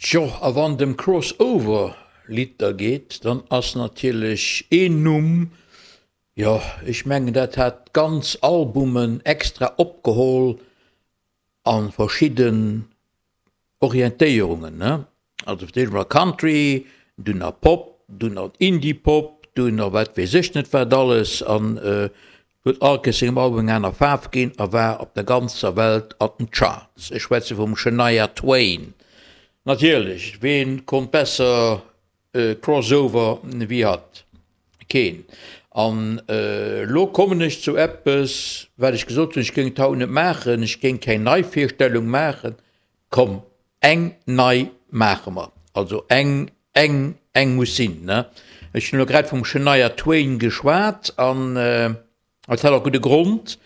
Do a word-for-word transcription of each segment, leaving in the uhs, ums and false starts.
Tjo, a wann et ëm Crossover-Lidder geet, dann ass natierlech een Numm, jo, ech mengen dat hat ganz Albumen extra opgeholl a verschidden Orientéierungen, ne? Also fir d'éischt emol Country, dunn nach Pop, dunn nach Indie-Pop, dunn nach wat weess ech net wat alles an huet all Kéiers sengem Album eng aner Faarf ginn a war op der ganzer Welt an den Charts. Ech schwätze vum Shania Twain. Natierlech, ween konnt besser Crossover wéi hatt? Keen. An elo kommen ech zu eppes, wat ech gesot hunn, ech géing et haut net maachen, ech géing keng Neivirstellung maachen. Komm, eng nei maache mer. Also eng, eng, eng muss sinn, ne? Ech hunn elo grad vum Shania Twain geschwat an et hat och gudde Grond,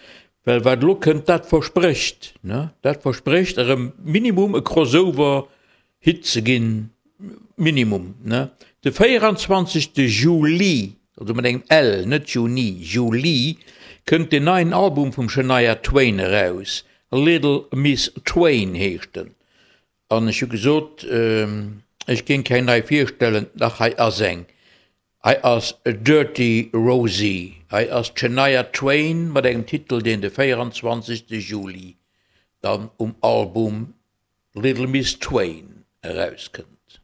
well wat elo kënnt, dat versprécht, ne? Dat versprécht erëm minimum e Crossover-Hit ze ginn, minimum, ne? De véieranzwanzegste Juli, also mat engem L, net Juni, Juli, kënnt deen neien Album vum Shania Twain eraus, Little Miss Twain heescht en. An ech hu gesot, ech géing keng nei virstellen, dach hei ass eng, hei ass Dirty Rosie, hei ass d'Shania Twain mat engem Titel, deen de véieranzwanzegste Juli dann um Album Little Miss Twain erauskënnt.